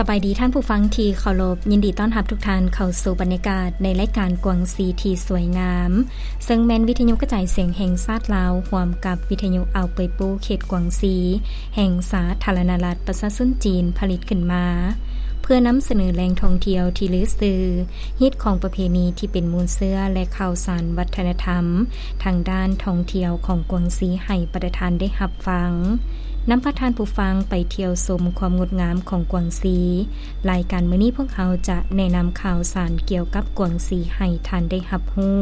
ສະບາຍດີທ່ານຜູ້ຟັງທີ່ເຄົາລົບ, ຍິນດີຕ້ອນຮັບທຸກທ່ານເຂົ້າສູ່ບັນຍາກາດໃນລາຍການກວາງຊີທີ່ສວຍງາມ, ເຊິ່ງແມ່ນວິທະຍຸກະຈາຍສຽງແຫ່ງຊາດລາວ ຮ່ວມກັບວິທະຍຸອ່າວເປີຍປູ ເຂດກວາງຊີ ແຫ່ງສາທາລະນະລັດປະຊາຊົນຈີນ ຜະລິດຂຶ້ນມາ ເພື່ອນຳສະເໜີແຫຼ່ງທ່ອງທ່ຽວທີ່ລືຊື່, ຮີດຄອງປະເພນີທີ່ເປັນມູນເຊື້ອ ແລະ ຂ່າວສານວັດທະນະທຳທາງດ້ານທ່ອງທ່ຽວຂອງກວາງຊີໃຫ້ບັນດາທ່ານໄດ້ຮັບຟັງ. ນຳພາທ່ານຜູ້ຟັງໄປທ່ຽວຊົມຄວາມງົດງາມຂອງກວາງຊີ. ລາຍການມື້ນີ້ພວກເຮົາຈະແນະນຳຂ່າວສານກ່ຽວກັບກວາງຊີໃຫ້ທ່ານໄດ້ຮັບຮູ້.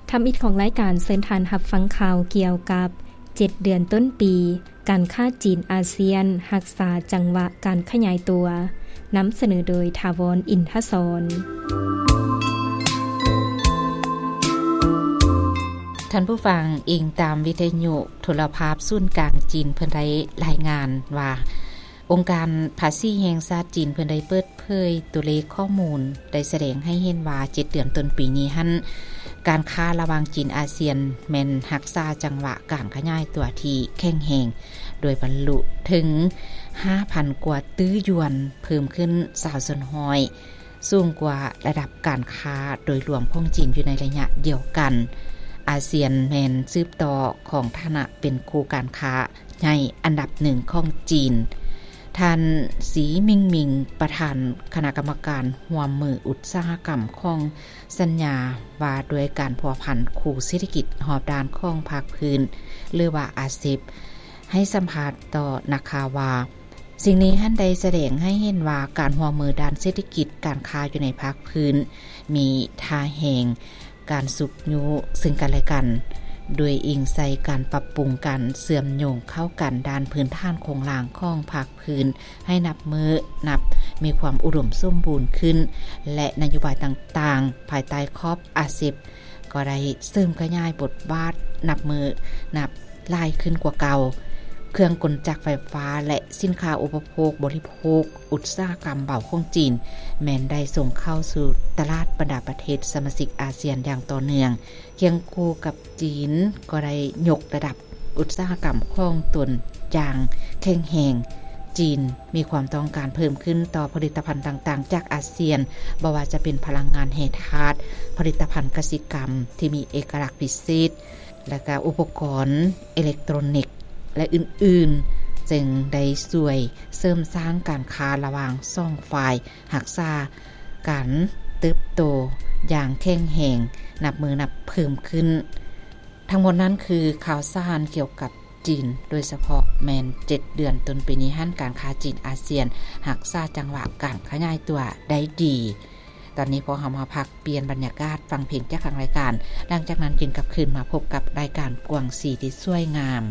ທຳອິດຂອງລາຍການ ເຊີນທ່ານຮັບຟັງຂ່າວກ່ຽວກັບເຈັດເດືອນຕົ້ນປີ, ການຄ້າຈີນອາຊຽນຮັກສາຈັງຫວະການຂະຫຍາຍຕົວ. ນຳສະເໜີໂດຍ ຖາວອນ ອິນທະສອນ. ທ່ານຜູ້ຟັງ, ອີງຕາມວິທະຍຸໂທລະພາບສູນກາງຈີນ ເພິ່ນໄດ້ລາຍງານວ່າ ອົງການພາສີແຫ່ງຊາດຈີນ ເພິ່ນໄດ້ເປີດເຜີຍຕົວເລກຂໍ້ມູນ ໄດ້ສະແດງໃຫ້ເຫັນວ່າ ເຈັດເດືອນຕົ້ນປີນີ້ຫັ້ນ ການຄ້າລະຫວ່າງຈີນອາຊຽນ ແມ່ນຮັກສາຈັງຫວະການຂະຫຍາຍຕົວທີ່ແຂງແຮງ ໂດຍບັນລຸເຖິງຫ້າພັນກວ່າຕື້ຢວນ, ເພີ່ມຂຶ້ນຊາວສ່ວນຮ້ອຍ, ສູງກວ່າລະດັບການຄ້າໂດຍລວມຂອງຈີນຢູ່ໃນໄລຍະດຽວກັນ. ອາຊຽນແມ່ນສືບຕໍ່ຂອງຖານະເປັນຄູ່ການຄ້າໃຫຍ່ອັນດັບໜຶ່ງຂອງຈີນ. ທ່ານ ສີ ໝິງໝິງ ປະທານຄະນະກຳມະການຮ່ວມມືອຸດສາຫະກຳຂອງສັນຍາວ່າດ້ວຍການພົວພັນຄູ່ເສດຖະກິດຮອບດ້ານຂອງພາກພື້ນ ຫຼືວ່າ ອາເຊັບ ໃຫ້ສຳພາດຕໍ່ນັກຂ່າວວ່າ ສິ່ງນີ້ຫັ້ນໄດ້ສະແດງໃຫ້ເຫັນວ່າ ການຮ່ວມມືດ້ານເສດຖະກິດການຄ້າຢູ່ໃນພາກພື້ນ ມີທ່າແຮງການຊຸກຍູ້ເຊິ່ງກັນແລະກັນ, ໂດຍອີງໃສ່ການປັບປຸງການເຊື່ອມໂຍງເຂົ້າກັນດ້ານພື້ນຖານໂຄງລ່າງຂອງພາກພື້ນ ໃຫ້ນັບມື້ນັບມີຄວາມອຸດົມສົມບູນຂຶ້ນ ແລະ ນະໂຍບາຍຕ່າງໆ ພາຍໃຕ້ຂອບ ອາເຊັບ ກໍໄດ້ເສີມຂະຫຍາຍບົດບາດນັບມື້ນັບຫຼາຍຂຶ້ນກວ່າເກົ່າ. ເຄື່ອງກົນຈັກໄຟຟ້າ ແລະ ສິນຄ້າອຸປະໂພກບໍລິໂພກ ອຸດສາຫະກຳເບົາຂອງຈີນ ແມ່ນໄດ້ສົ່ງເຂົ້າສູ່ຕະຫຼາດບັນດາປະເທດສະມາຊິກອາຊຽນຢ່າງຕໍ່ເນື່ອງ. ຄຽງຄູ່ກັບຈີນກໍໄດ້ຍົກລະດັບ ອຸດສາຫະກຳຂອງຕົນຢ່າງແຂງແຮງ. ຈີນມີຄວາມຕ້ອງການເພີ່ມຂຶ້ນຕໍ່ຜະລິດຕະພັນຕ່າງໆຈາກອາຊຽນ, ບໍ່ວ່າຈະເປັນພະລັງງານແຮ່ທາດ, ຜະລິດຕະພັນກະສິກຳທີ່ມີເອກະລັກພິເສດ, ແລະ ກະອຸປະກອນເອເລັກໂຕຣນິກ ແລະ ອື່ນໆ, ຈຶ່ງໄດ້ຊ່ວຍເສີມສ້າງການຄ້າລະຫວ່າງສອງຝ່າຍ, ຮັກສາການເຕີບໂຕຢ່າງແຂງແຮງ, ນັບມື້ນັບເພີ່ມຂຶ້ນ. ທັງໝົດນັ້ນຄືຂ່າວສານກ່ຽວກັບຈີນ, ໂດຍສະເພາະແມ່ນເຈັດເດືອນຕົ້ນປີນີ້ຫັ້ນ ການຄ້າຈີນອາຊຽນຮັກສາຈັງຫວະການຂະຫຍາຍຕົວໄດ້ດີ. ຕອນນີ້ພວກເຮົາມາພັກປ່ຽນບັນຍາກາດ ຟັງເພງຈາກທາງລາຍການ, ຫຼັງຈາກນັ້ນຈຶ່ງກັບຄືນມາພົບກັບລາຍການກວາງຊີທີ່ສວຍງາມ.